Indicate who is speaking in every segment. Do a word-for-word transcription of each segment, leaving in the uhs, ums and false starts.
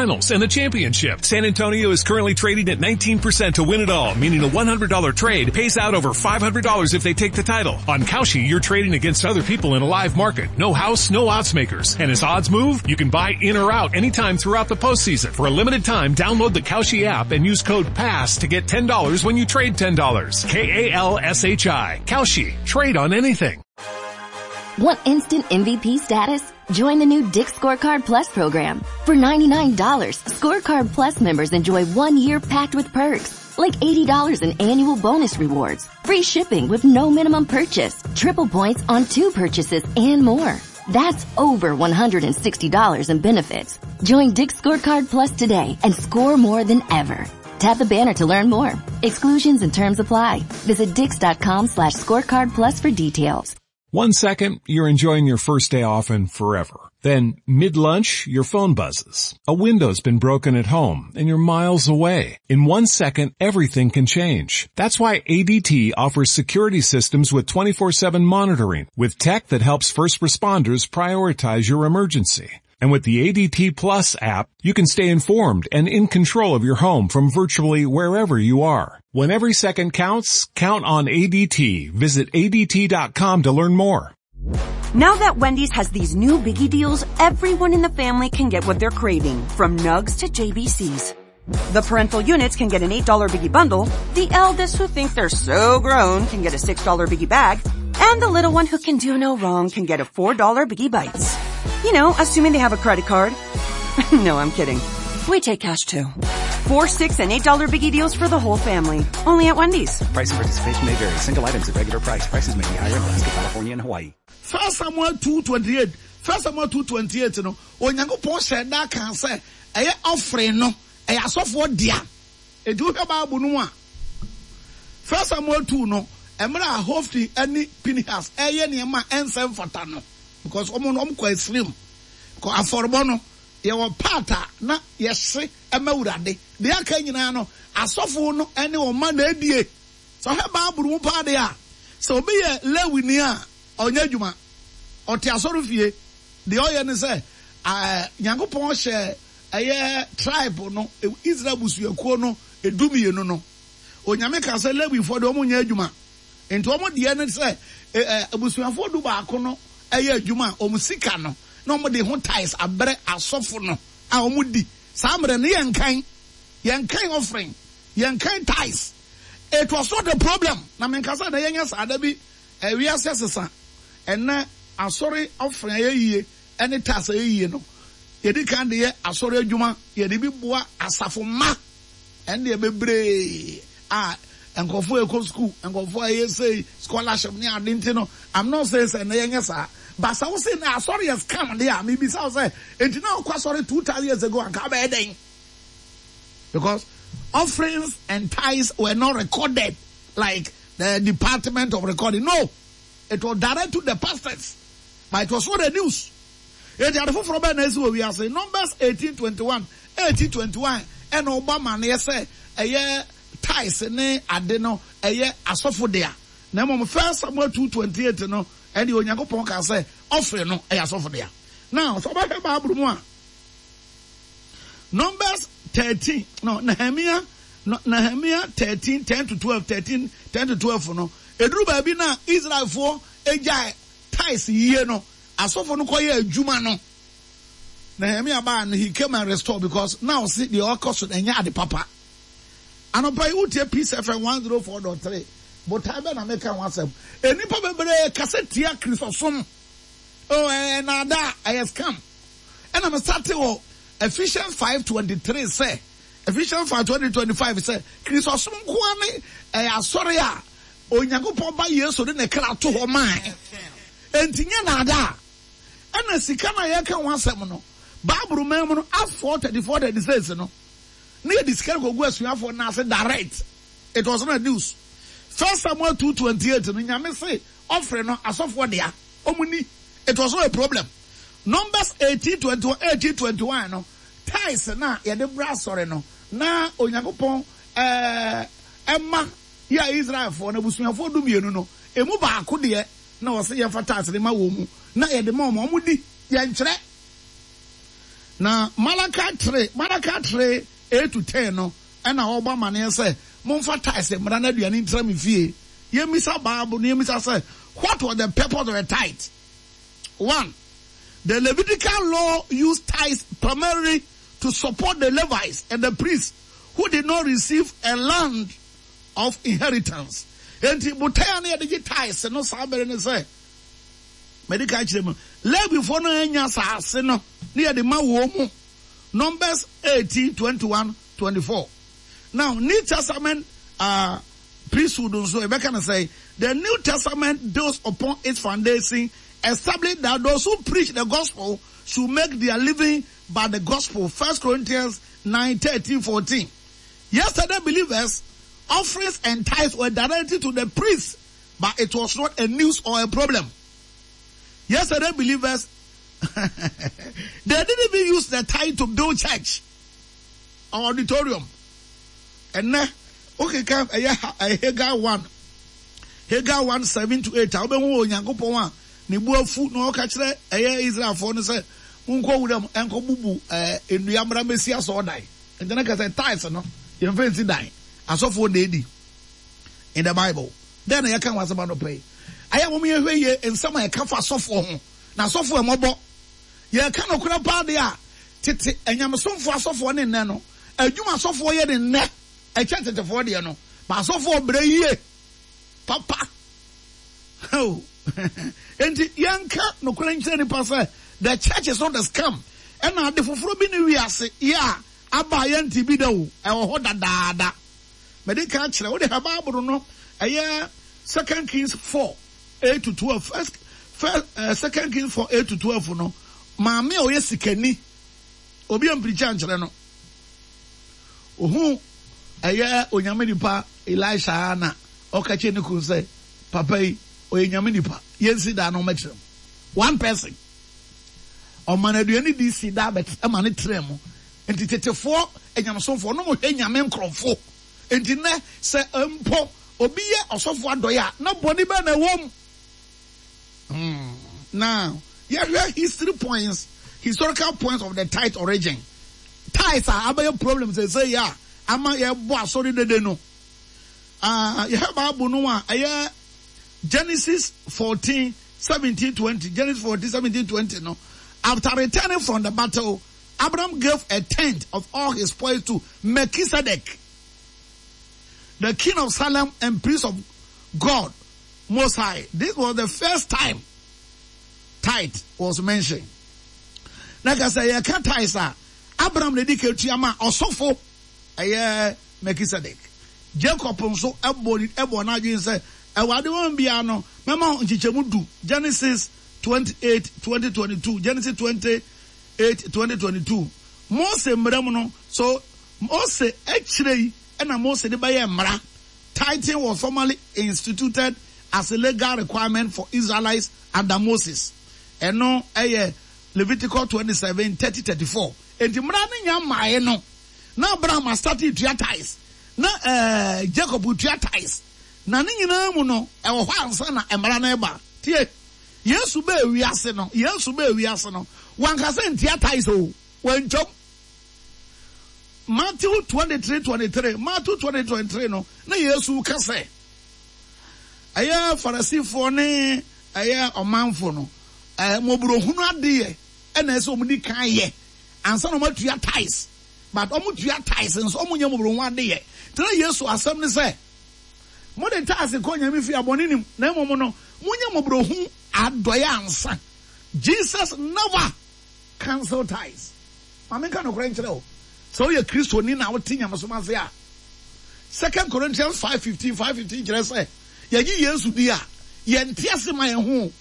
Speaker 1: finals and the championship. San Antonio is currently trading at nineteen percent to win it all, meaning a one hundred dollar trade pays out over five hundred dollars if they take the title. On Kalshi, you're trading against other people in a live market. No house, no odds makers. And as odds move, you can buy in or out anytime throughout the postseason. For a limited time, download the Kalshi app and use code PASS to get ten dollars when you trade ten dollars. K A L S H I. Kalshi. Trade on anything.
Speaker 2: Want instant M V P status? Join the new Dick's Scorecard Plus program. For ninety-nine dollars, Scorecard Plus members enjoy one year packed with perks, like eighty dollars in annual bonus rewards, free shipping with no minimum purchase, triple points on two purchases, and more. That's over one hundred sixty dollars in benefits. Join Dick's Scorecard Plus today and score more than ever. Tap the banner to learn more. Exclusions and terms apply. Visit dicks dot com slash scorecard plus for details.
Speaker 1: One second, you're enjoying your first day off and forever. Then, mid-lunch, your phone buzzes. A window's been broken at home and you're miles away. In one second, everything can change. That's why A D T offers security systems with twenty-four seven monitoring, with tech that helps first responders prioritize your emergency. And with the A D T Plus app, you can stay informed and in control of your home from virtually wherever you are. When every second counts, count on A D T. Visit A D T dot com to learn more.
Speaker 3: Now that Wendy's has these new biggie deals, everyone in the family can get what they're craving, from nugs to J B Cs. The parental units can get an eight dollar biggie bundle, the eldest who think they're so grown can get a six dollar biggie bag, and the little one who can do no wrong can get a four dollar biggie bites. You know, assuming they have a credit card. No, I'm kidding. We take cash too. Four, six, and eight dollar biggie deals for the whole family. Only at Wendy's.
Speaker 4: Price and participation may vary. Single items at regular price. Prices may be higher in Alaska, California, and Hawaii.
Speaker 5: First Samuel two twenty-eight, First Samuel two twenty-eight no, Onyankopɔn hyɛ da kan sɛ ɛyɛ offering no ɛyɛ asɔfoɔ dea. Eti wohwɛ Bible no mu a, First Samuel two no, mmerɛ a Hofni ne Pinehas ɛyɛ nneɛma a ɛnsɛ mfata no, because wɔn no wɔn kɔ esirim kɔ afɔrebɔ no, yɛwɔ part a na yɛhye ɛma Awurade deɛ, aka nyinaa no asɔfo no ɛne wɔn mma na edie. Sɛ ɔhwɛ Bible mu paa deɛ a, sɛ obi yɛ Lewini a ɔnyɛ adwuma, ɔte asɔre fie deɛ, ɔyɛ ne sɛ ɛɛ Nyankopɔn hyɛ ɛyɛ tribe no, Israel busuakuo no edu mmienu no, Onyame ka sɛ Lewifoɔ deɛ, wɔn nyɛ adwuma. Nti wɔn deɛ ne sɛ ɛ ɛ abusuafoɔ du baako no ɛyɛ adwuma a wɔn sika no na wɔn de ho tithes abrɛ asɔfo no a wɔn di. Saa mmerɛ no yɛn kan yɛn kan offering, yɛn kan tithes, it was not a problem. Na menkasa na yɛnyɛ saa da bi. Ɛwiase sesa. Ɛnɛ asɔre offering a yɛ yie ɛne tithes a yɛ yie no, yɛdi kan de yɛ asɔre adwuma, yɛde bi boa asafo mma. Ɛndeɛ bebree a nkurɔfoɔ ɛkɔ school, nkurɔfoɔ a ɛyɛ sei scholarship ne ade. Nti no, I'm not saying sɛ ɛnɛ yɛnyɛ saa, but sɛ wosi na asɔre yɛ scam de a, mebisa wo sɛ, enti na ɔkɔ asɔre two thousand years ago anka abɛyɛ dɛn? Because offerings and tithes were not recorded like the department of recording. No, it was direct to the pastors, but it was not the news. Eti ade foforɔ bɛɛ na esi wɔ wiase. Numbers eighteen twenty one, eighteen twenty one, ɛna ɔba amaneɛ sɛ ɛyɛ tithes ne ade no ɛyɛ asɔfo dea. Na mmom First Samuel two twenty eight no, ɛde Onyankopɔn ka sɛ offering no ɛyɛ asɔfo dea. Now sɛ ɔbɛhwɛ Bible mu a, Numbers thirteen no, Nehemia no, Nehemia thirteen ten to twelve, thirteen ten to twelve no, eduru baabi na Israelfoɔ egya tithes yie no, asɔfo no kɔyɛ adwuma no, Nehemia baa no, he came and restore, because now see deɛ ɔkɔ so ɛnyɛ ade papa. Anɔpa yi wotie Peace F M one zero four dot three. Botae bɛ na meka ho asɛm. Enipa bebree kasa tia Kristosom. Oh, ɛɛ naada, ɛyɛ scam. Ɛna me start wɔ Ephesians five twenty three sɛ, Ephesians five twenty twenty five sɛ Kristosom nkoa ne ɛyɛ asɔre a Onyankopɔn ba Yesu de ne kra to hɔ maa. Enti nyɛ naada. Ɛna sika na yɛka ho asɛm no, Bible man mu no, Acts four thirty four thirty six no, ne yɛde sika no kɔgu asuafoɔ no ase direct. It was not news. First Samuel two twenty eight no, Nyame se offering no asɔfoɔ dea, ɔmo ni, it was not a problem. Numbers eighteen twenty one, eighteen twenty one no, tithes na yɛde bra asɔre no na Onyankopɔn ɛɛ ɛma yɛ a Israelfoɔ no abusuafoɔ du mmienu no emu baako deɛ, na wɔsɛ yɛmfa tithes ne ma wɔn mu na yɛde ma wɔn, wɔn di yɛnkyerɛ. Na Malachi three, Malachi three, eight to ten no, ɛna ɔbɔ amaneɛ sɛ, momfa tithes mmra na aduane ntra me fie. Yɛmmisa Bible no, yɛmmisa sɛ, what was the purpose of the tithe? One, the Levitical law used tithes primarily to support the Levites and the priests who did not receive a land of inheritance. Enti botae a na yɛde gye tithes no saa bere ne sɛ, mede ka kyerɛ mu, Levifoɔ no anya asase no na yɛde ma wɔn mu. Numbers eighteen, twenty-one, twenty-four. Now, New Testament, uh, priesthood nso, ɛbɛka no sɛ, the New Testament builds upon its foundation, established that those who preach the gospel should make their living by the gospel. First Corinthians nine, thirteen, fourteen. Yesterday, believers, offerings and tithes were directed to the priests, but it was not a news or a problem. Yesterday, believers, they didn't even use the tithe to build church or auditorium. And now, okay, Haggai one, Haggai one, seven to eight. Obehu Onyankopɔn a ne bu afu na ɔka kyerɛ ɛyɛ Israelfoɔ no sɛ monkɔ wuram ɛnkɔ bubu ɛɛ nnua mmra mmɛsi asɔɔdan. Nti na kasa tithes no yɛmfa nsi dan. Asɔfoɔ na edi in the Bible. Then yɛka ho asɛm anɔpa yi. Ayɛ wɔn yɛhwɛ yie nsɛm a yɛka fa asɔfoɔ ho. Na asɔfoɔ ɛmɔbɔ. Yɛka nokorɛ paa deɛ a tete anyamesomfoɔ asɔfoɔ ne nnɛ no adwuma asɔfoɔ yɛ ne nnɛ ɛkyɛ tetefoɔ deɛ no. Ba asɔfoɔ brɛ yie papa. Oh. Enti yɛnka nokorɛ nkyerɛ nipa sɛ the church is not a scam. Ɛna ade foforɔ bi ne wiase yɛ a aba a yɛnte bi da o. Ɛwɔ hɔ dadaada. Mede ka kyerɛ wode ha Bible no ɛyɛ Second Kings four eight to twelve. First, first, uh, Second Kings four eight to twelve no. Maame a ɔyɛ sikani obi ampirikyi ankyerɛ no. Ohu ɛyɛ onyame nipa Elisha na ɔka kyerɛ ne kun sɛ papa yi ɔyɛ nyame nipa yɛnsi da no ɔmɛkyerɛ mu. One person ɔma no aduane di si da bɛt ɛma ne trɛ mu. Nti tetefoɔ anyamesomfoɔ no mo hwɛ nyame nkorɔfo. Nti nnɛ sɛ mpo obi yɛ ɔsɔfo adɔeɛ a na bɔne bɛn na ɛwɔ mu. Hmm. Now yɛhwɛ history points, historical points of the tithe origin. Tithes a abɛyɛ problem sɛ sɛ yɛ a ama yɛbɔ asɔre dede no. Ah, yɛhwɛ Bible no a ɛyɛ Genesis fourteen, seventeen, twenty. Genesis fourteen, seventeen, twenty no. After returning from the battle, Abraham gave a tenth of all his spoils to Melchizedek, the king of Salem and priest of God Most High. This was the first time tithe was mentioned. Like I say, you can't tithe, sir. Abraham na di ketua ma ɔsɔfo ɛyɛ Melchizedek. Jacob nso ɛbɔ ɛbɔ n'adwene sɛ ɛwɔ ade wɔn bia no mɛma nkyekyɛmu du. Genesis twenty-eight, twenty twenty-two. Genesis twenty-eight, twenty twenty-two. Mose mmerɛ mu no, so Mose akyire yi ɛna Mose de bɛyɛ mmara. Tithing was formally instituted as a legal requirement for Israelites under Moses. Ɛno ɛyɛ Leviticus twenty-seven, thirty, thirty-four. Enti mmara no nya mmaeɛ no, na Abraham asate tua tithes, na, eh, Jacob tua tithes. Na ne nyinaa mu no, ɛwɔ hɔ ansa na mmara no ɛba. Tie, Yesu bɛɛ wiase no, Yesu bɛɛ wiase no, wankasa ntia tithes o, wantwam. Matthew twenty-three, twenty-three, Matthew twenty-three, twenty-three no, na Yesu ka sɛ, ɛyɛ Farisifoɔ ne ɛyɛ ɔmanfo no, ɛɛ mmɔborɔhunu adeɛ ɛna ɛsɛ wɔn di kan yɛ ansa na wɔn atua tithes. But wɔn tua tithes nso wɔn nyɛ mmɔborɔhunu adeɛ. Tena Yesu asɛm ne sɛ, mo de tithes kɔ nyame fi abɔne nim na mmom no mo nyɛ mmɔborɔhunu adɔeɛ ansa. Jesus never cancel tithes. Maame nka nokorɛ nkyerɛ wo. Sɛ woyɛ Kristoni na wote nyamesom ase a, Second Corinthians five fifteen, five fifteen kyerɛ sɛ yɛgye Yesu di a, yɛnte ase ma yɛn ho.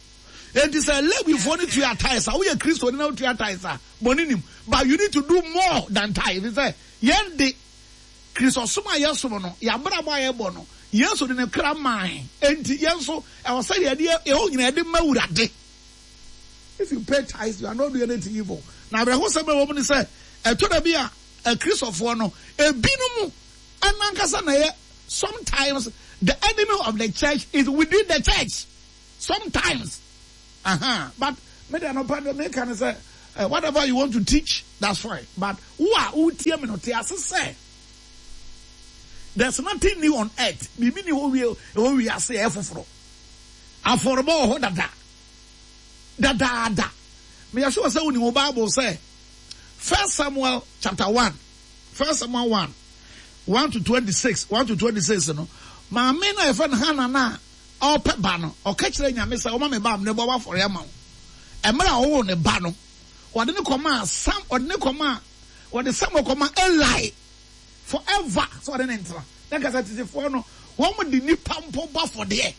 Speaker 5: Enti sɛ Lewifoɔ no tua tithes a, woyɛ Kristoni na wotua tithes a, bɔne nim. But you need to do more than tithes. Sɛ yɛn de Kristosom a yɛsom no, yɛabrabɔ a yɛbɔ no, Yesu de ne kra mae. Enti yɛn nso, ɛwɔ sɛ yɛde yɛn nyinaa yɛde ma Awurade. If you pay tithes, you are not doing anything evil. Na awerɛhosɛm a ɛwɔ mu ne sɛ, ɛtɔ da bi a, Akristofoɔ no, ebinom ɛnankasa na yɛ, sometimes the enemy of the church is within the church. Sometimes. Uh-huh. But me de anɔpa de me ka ne sɛ, uh, whatever you want to teach, that's fine. But wo a wotie me no, te ase sɛ there's nothing new on earth. Biribi ni hɔ wie ɛwɔ wiase ɛyɛ foforɔ. Afɔrebɔ wɔ hɔ dada dadaada. Meyɛ sure sɛ wonim wo Bible sɛ First Samuel chapter one, First Samuel one, one to twenty-six, one to twenty-six no, maame na yɛfrɛ no Hannah na ɔpɛ ba no, ɔka kyerɛ Nyame sɛ ɔma me ba amene bɔ wafɔre ama wo. Ɛmmerɛ a ɔwoo ne ba no, wɔde ne kɔmaa Sam, wɔde ne kɔmaa, wɔde Samuel kɔmaa Eli forever sɛ ɔde ne ntena. Na kasa tetefoɔ no, wɔn de nipa mpo bɔ afɔdeɛ.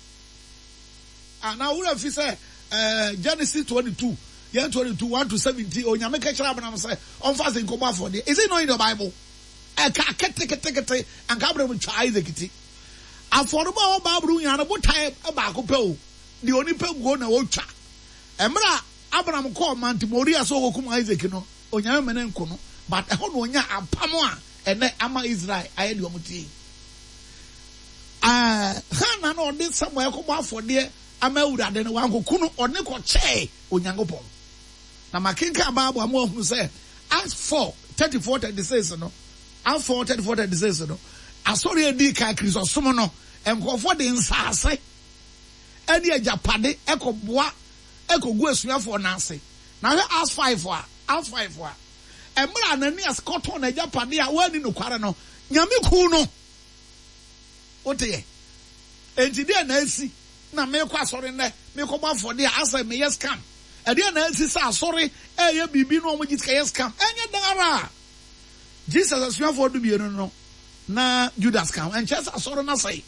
Speaker 5: Ah, na wura fi sɛ eh, Genesis twenty-two, yɛn twenty-two, one to seventeen, Onyame ka kyerɛ Abraham sɛ ɔmfa se nkɔbɔ afɔdeɛ. Is it not in the Bible? Ɛka ketekete, anka Abraham twa Isaac ti. Afɔrebɔ a ɛwɔ Bible nyinaa no, botae baako pɛ o, deɛ onipa guo na ɔtwa. Mmerɛ a Abraham kɔɔ Mount Moriah sɛ ɔkɔkum Isaac no, Onyame mene nko no, but ɛhɔ na ɔnya apam a ɛnɛ ama Israel ayɛ deɛ ɔmo tie yi. Hannah na ɔde Samuel kɔbɔ afɔdeɛ ama Awurade no, wankɔku no, ɔne kɔkyɛɛ Onyankopɔn. Na makenkan Bible a mo ahunu sɛ Acts four, thirty-four, thirty-six no, Acts four, thirty-four, thirty-six no, asɔre edi kan Kristosom no, nkurɔfoɔ de nsaase ɛne agyapade ɛkɔboa ɛkɔgu asuafoɔ n'ase. Na hwɛ Acts five a, Acts five a, mmerɛ Ananias kɔtɔn n'agyapade a wɔanni nokware no, Nyame kuu no. Wote yɛ? Enti deɛ na asi na mekɔ asɔre nnɛ, mekɔbɔ afɔdeɛ a asɛ meyɛ scam. Ɛdeɛ na asi sɛ asɔre ɛyɛ biribi na wɔn gye sika yɛ scam. Ɛnyɛ dan ara. Jesus asuafoɔ dumienu no na Judas ka ho. Ɛnkyɛ sɛ asɔre no asɛe.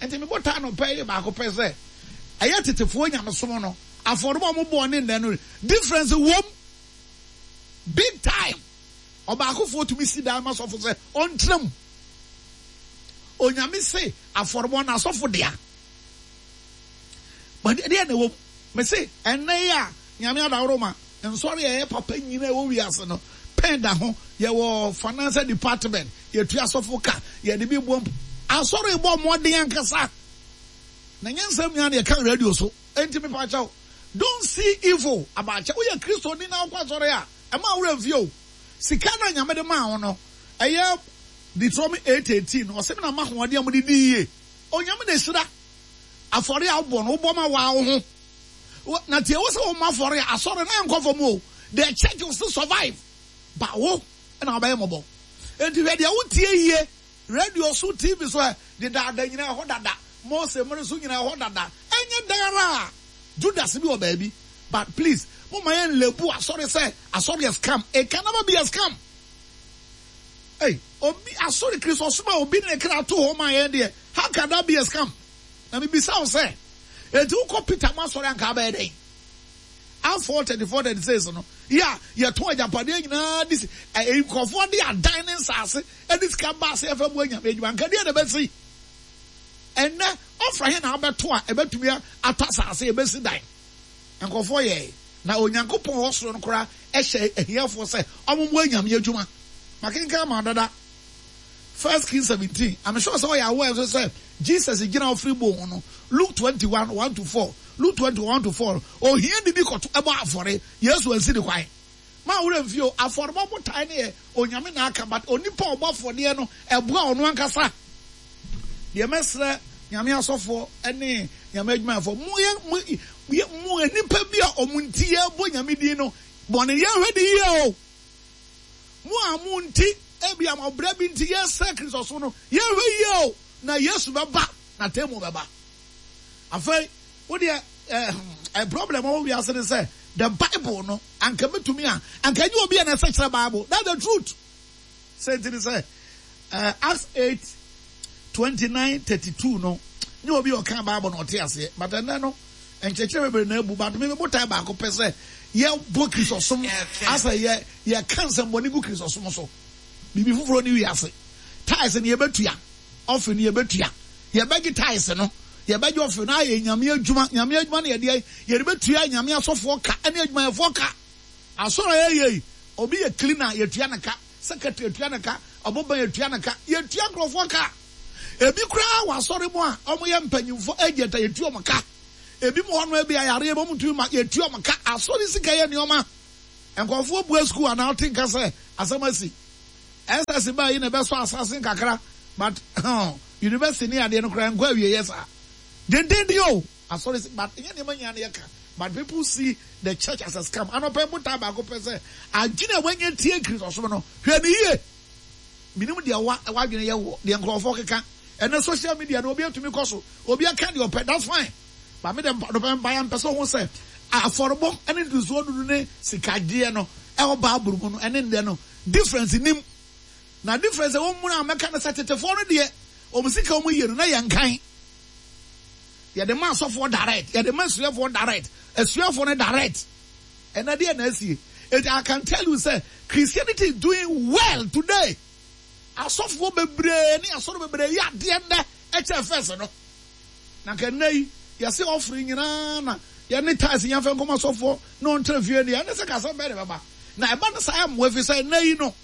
Speaker 5: Enti mebɔ taa no pɛ yɛ baako pɛ sɛ ɛyɛ tetefoɔ nyamesom no afɔrebɔ a wɔbɔɔ ne nnɛ no difference wom big time. Ɔbaakofoɔ tumi si dan ma sɔfo sɛ ɔntena mu. Onyame se afɔrebɔ no asɔfo dea. But deɛ na ɛwɔ mu, me se ɛnnɛ yi a Nyame adaworo ma nsɔre a ɛyɛ papa nyinaa ɛwɔ wiase no pɛn da ho. Yɛwɔ financial department, yɛtua asɔfo ka, yɛde bi bɔ mpo. Asɔre bɔ mmɔden ankasa. Na nyɛ nsɛm nyinaa na yɛka radio so. Enti mepa kyɛw, don't see evil about church. Woyɛ Kristoni na wokɔ asɔre a, ɛma wo werɛ mfie o. Sika na Nyame de maa wo no, ɛyɛ Deuteronomy eight eighteen, ɔsɛ me na ma ahoɔden a mode di yie. Onyame na ehyira afɔre a wobɔ no, wobɔ ma waa wo ho. Na tie wo sɛ wo ma afɔre a, asɔre na ɛnkɔ fam o. The church will still survive. But wo na wobɛyɛ mmɔbɔ. Enti hwɛ deɛ wotie yie, radio so, T V so, ɛ, dedaada nyinaa ɛhɔ dada, Mose mmere so nyinaa ɛhɔ dada. Ɛnyɛ dan ara a Judas bi wɔ baabi. But please, mo ma yɛn lebu asɔre sɛ asɔre yɛ scam. It can never be a scam. Hey, obi asɔre Kristo soma obi ne kra to hɔ ma yɛn deɛ. How can that be a scam? Na me bisa wo sɛ, enti wokɔ Peter mo asɔre anka abɛyɛ dɛn? Acts four, thirty-four, thirty-six no, ya yɛtɔn agyapadeɛ nyinaa de si, ɛ, nkurɔfoɔ de adan ne nsaase de sika ba ase ɛfɛ mu anyame adwuma. Anka deɛ na ɛbɛsi? Ɛnnɛ, ɔfra he na abɛto a ɛbɛtumi atɔ asase, ɛbɛsi dan. Nkurɔfoɔ yɛe. Na Onyankopɔn wɔ soro no koraa ɛhyɛ ahiafoɔ sɛ ɔmo mo anyame adwuma. Makenkan ma dada. First Kings seventeen. I'm sure sɛ ɔyɛ aware nso sɛ Jesus gyina ɔfiri bone ho no. Luke twenty-one, one to four. Luke twenty-one, one to four. Ohia ni bi kɔto ɛbɔ afɔre. Yesu ansi ne kwan. Ma wura mfie o, afɔrebɔ botae ne yɛ Onyame na aka, but onipa ɔbɔ afɔdeɛ no ɛboa ɔno ankasa. Deɛ mɛsrɛ Nyame asɔfoɔ ne Nyame adwumayɛfoɔ, mo yɛ, mo yɛ, mo nipa bi a ɔmo nti yɛbɔ Nyame din no, bɔne yɛhwɛ de yie o. Mo a mo nti, ebi a ɔbrɛ bi nti yɛsrɛ Kristo so no, yɛhwɛ yie o, na Yesu bɛba, na temu bɛba. Afei, wo deɛ, eh, eh, problem a wɔn wiase ne sɛ, the Bible no, anka metumi a, anka nye obi a na ɛsɛ kyerɛ Bible. That's the truth. Sɛ nti ne sɛ, eh, Acts eight, twenty-nine, thirty-two no, nye obi a ɔka Bible na ɔte aseɛ. But ɛnɛ no, nkyerɛkyerɛ bebree na ebu, but me me botae baako pɛ sɛ yɛbɔ Kristosom asɛ yɛ, yɛka nsɛmbɔne gu Kristosom so. Biribi foforɔ ne wiase. Tithes no yɛbɛtua, offering no yɛbɛtua. Yɛbɛgye tithes no, yɛbɛgye offering no ayɛ Nyame adwuma. Nyame adwuma no yɛde, yɛde bɛtua Nyame asɔfoɔ ka ne adwumayɛfoɔ ka. Asɔre a yɛyɛ yi, obi yɛ cleaner, yɛtua ne ka. Secretary yɛtua ne ka, ɔboban yɛtua ne ka. Yɛtua nkurɔfoɔ ka. Ebi koraa wɔ asɔre mu a, ɔmo yɛ mpanyimfoɔ agent a yɛtua ɔmo ka. Ebi mu hɔ no ebi ayareɛ bi ɔmo ntumi ma yɛtua ɔmo ka. Asɔre sika yɛ nneɛma. Nkurɔfoɔ bua school anaa wote nka sɛ asɛm asi. S S baa yi na ɛbɛsɔ asase nkakra, but university ne adeɛ no koraa nkɔ awieɛ saa. Dendenden o, asɔre si, but ɛnyɛ nneɛma nyinaa na yɛka. But people see the church as a scam. Anɔpa yi botae baako pɛ sɛ adwene a wanya tie Kristosom no, hwɛ no yie. Menim deɛ wa w'adwene yɛ wɔ deɛ nkurɔfoɔ keka. Ɛnɛ social media no obi atumi kɔ so, obi aka deɛ ɔpɛ, that's fine. But me deɛ anɔpa mpaeɛ mpɛ sɛ ɔho sɛ afɔrebɔ ne ntosoɔ dudu ne sikagyeɛ no ɛwɔ Bible mu no ɛne nnɛ no difference nim. Na difference ɛwɔ mu no a mɛka no sɛ tetefoɔ no deɛ wɔn sika wɔn yie no na yɛn kan. Yɛde ma asɔfoɔ direct, yɛde ma asuafoɔ direct, asuafoɔ no direct. Ɛnɛ deɛ na asie. It, I can tell you sɛ Christianity is doing well today. Asɔfoɔ bebree ne asɔre bebree yɛ adeɛ nnɛ ɛkyɛ first no. Na nka nnɛ yi yɛse offering nyinaa na yɛne tithes yɛmfa nkɔma asɔfoɔ na ɔntra fie deɛ ɛne sɛ kasɛm bɛyɛ de bɛba. Na ɛba no saa mmoa fi sɛ nnɛ yi no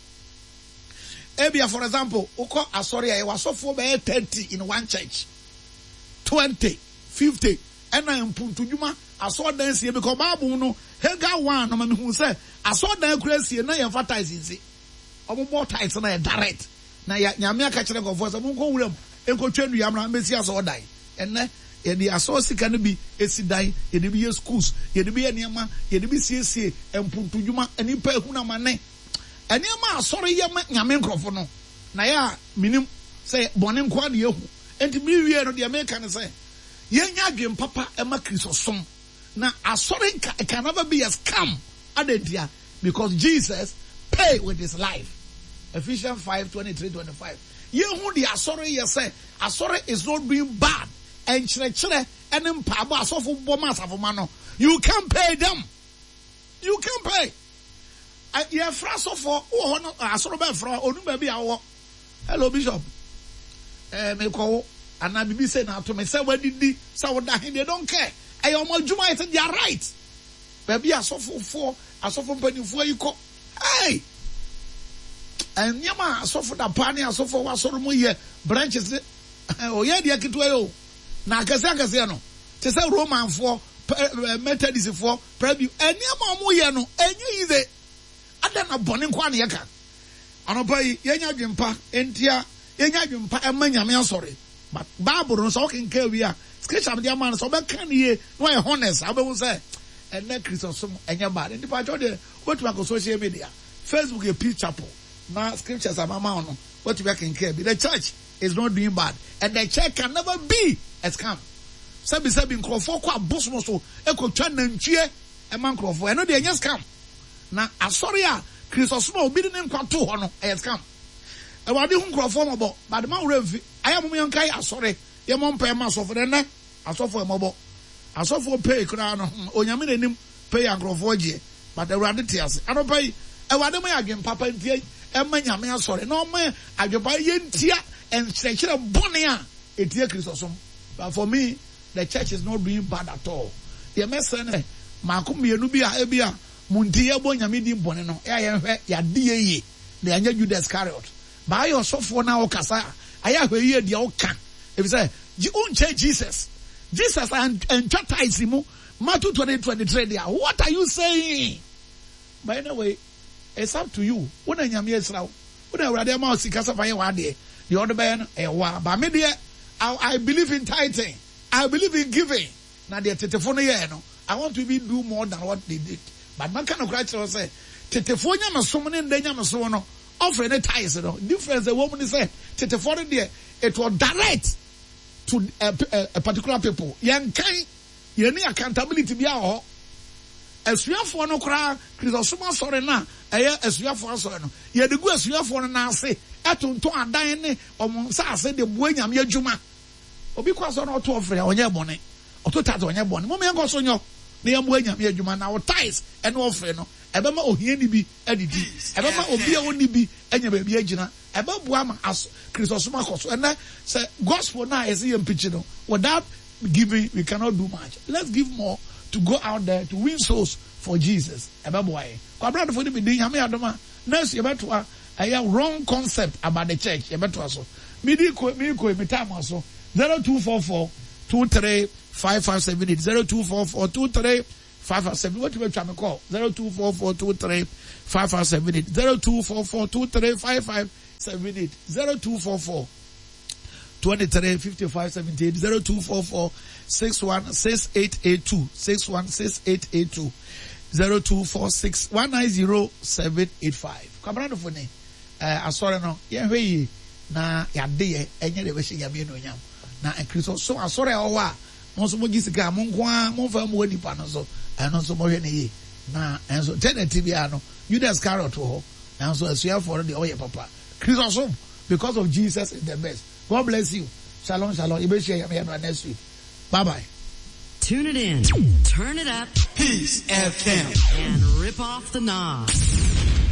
Speaker 5: ebia for example wokɔ asɔre a yɛwɔ asɔfoɔ bɛyɛ thirty in one church, twenty, fifty ɛna mpuntudwuma asɔredan sie because Bible no Haggai one no ma mehu sɛ asɔredan kura sie na yɛmfa tithes nsi. Ɔmo bɔ tithes na yɛ direct. Na yɛ Nyame aka kyerɛ nkurɔfoɔ sɛ monkɔ wuram nkɔtwa nnua mmra mbɛsi asɔredan. Ɛnɛ yɛde asɔre sika no bi esi dan, yɛde bi yɛ schools, yɛde bi yɛ nneɛma, yɛde bi siesie mpuntudwuma, nnipa ehunu amane. Nneɛma a asɔre yɛ ma Nyame nkurɔfo no, na yɛ a minim sɛ bɔne nko ara na yɛhu. Enti mewie no deɛ meka ne sɛ yɛnya adwene papa ɛma Kristosom. Na asɔre nka can never be a scam. Adɛn because Jesus pay with his life. Ephesians five twenty three twenty five. Yɛhu de asɔre yɛ sɛ asɔre is not doing bad. Nkyerɛkyerɛ ɛne mpaabɔ asɔfo bɔ ma asafo no. You can't pay them. You can't pay. Yɛfrɛ asɔfoɔ wɔ hɔ no asɔre bɛfrɛ onu baabi a wɔwɔ. Hello bishop. Ɛɛ mekɔwo anaa bibi sɛ na ato me sɛ wadidi sɛ woda he, they don't care. Ɛyɛ ɔmo adwuma, it's their right. Baabi asɔfofoɔ asɔfo mpanimfoɔ yi kɔ. Hey! Nneɛma a asɔfo da paa ne asɔfo a wɔasɔre mu yɛ branches ne ɔyɛ deɛ ketewa yi o. Na akɛseɛ akɛseɛ no te sɛ Romanfoɔ, Methodistfoɔ, Presby nneɛma a wɔyɛ no ɛnyɛ yize. Ada na bɔne nko ara na yɛka. Anɔpa yi yɛnya adwempa ntia yɛnya adwempa ɛma Nyame asɔre. But Bible no sɛ ɔkenkan wie a scripture de ama no sɛ ɔbɛka ne yie na wayɛ honest a wobɛhu sɛ ɛnɛ Kristosom ɛnyɛ bad. Nti paatwɔ deɛ wobɛtumi akɔ social media, Facebook yɛ Peace Chapel na scriptures ama ma wo no wobɛtumi akenkan bi. The church is not doing bad and the church can never be a scam. Sɛbi sɛbi nkurɔfoɔ kɔ abosom so ekotwa nantwie ɛma nkurɔfoɔ, ɛno deɛ ɛnyɛ scam. Na asɔre a Kristosom a obi de ne nkwa to hɔ no ɛyɛ scam. Awurade hu nkurɔfoɔ mɔbɔ, but ma wura mfi ayɛ mo yɛn asɔre yɛ mɔ mpɛ ma asɔfo dɛ asɔfo ɛmɔbɔ. Asɔfo pay koraa no Onyame n'anim pay nkurɔfoɔ gyeɛ, but Awurade te ase. Anɔpa yi Awurade mo yɛ adwen papa ntia ɛma Nyame asɔre na ɔma adwen papa yɛntia nkyerɛkyerɛ bɔne a etie Kristosom. But for me, the church is not doing bad at all. Deɛ mɛsrɛ no maako mmienu bi a ebi a mo nti yɛbɔ Nyame din bɔne no ɛyɛ yɛnhwɛ yɛade yɛ yie na yɛnyɛ Judas Iscariot. Baayɛ ɔsɔfoɔ na ɔkasa a ayɛ ahwɛ yie deɛ ɔka ebi sɛ wonkyɛ Jesus. Jesus antwa tithes mu Matthew twenty twenty three deɛ, what are you saying? But anyway, it's up to you. Wo na Nyame asira wo. Wo na Awurade ama wo sika sɛ fa yɛ w'adeɛ. Deɛ ɔde bɛyɛ no ɛyɛ wo a. But me deɛ, I, I believe in tithing. I believe in giving. Na deɛ tetefo no yɛɛ no, I want to even do more than what they did. But maka no koraa kyerɛ wo sɛ tetefoɔ nyamesom ne ndɛ nyamesom no offering ne tithes no difference ɛwɔ mu ne sɛ tetefoɔ no deɛ it was direct to a, a, a particular people. Yɛn kan yɛn ni accountability bi a wɔ hɔ. Asuafoɔ no koraa Kristosom asɔre no a ɛyɛ asuafoɔ asɔre no yɛde gu asuafoɔ no n'ase ɛtontɔn adan ne ɔmo nsa ase de boa Nyame adwuma. Obi kɔ asɔre na ɔto offering a ɔnyɛ bɔne, ɔto tithe ɔnyɛ bɔne. Mo yɛn kɔ so nyɔ na yɛn boa Nyame adwuma na wo tithes ɛne offering no ɛbɛma ohiani bi adidi, ɛbɛma obi a ɔnni bi anya baabi agyina, ɛbɛboa ma aso Kristosom akɔ so. Ɛnɛ sɛ gospel na yɛsɛ yɛn preach no, without giving we cannot do much. Let's give more to go out there to win souls for Jesus. Ɛbɛboa yɛn. Kwabradofo ne mi din Nyame adom a next yɛbɛtoa ɛyɛ wrong concept about the church yɛbɛtoa so. Mi di ko mi ko mi time aso zero two four four two three five five seven eight zero two four four two three five five seven. Wotumi atwa me call zero two four four two three five five seven eight zero two four four two three five five seven eight zero two four four twenty three fifty five seventy eight zero two four four six one six eight eight two six one six eight eight two zero two four six one nine zero seven eight five. Kwabena dofo ne ɛɛ asɔre no yɛn hwɛ yie na yade yɛ ɛnyɛ de bɛhyɛ Nyame anuonyam na Kristo so asɔre a ɛwɔ hɔ a mo nso mo gye sika mo nko ara mo nfa mu wɔ nipa no so ɛno nso mo hwɛ ne yie na ɛnso tɛnɛti biara no Judas Iscariot wɔ hɔ nanso asuafoɔ no deɛ ɔyɛ papa Kristo som because of Jesus is the best. God bless you. Shalom, shalom. Yɛbɛhyia Nyame yɛ next week. Bye bye.
Speaker 6: Tune it in. Turn it up.
Speaker 7: Peace F M.
Speaker 6: And rip off the knob.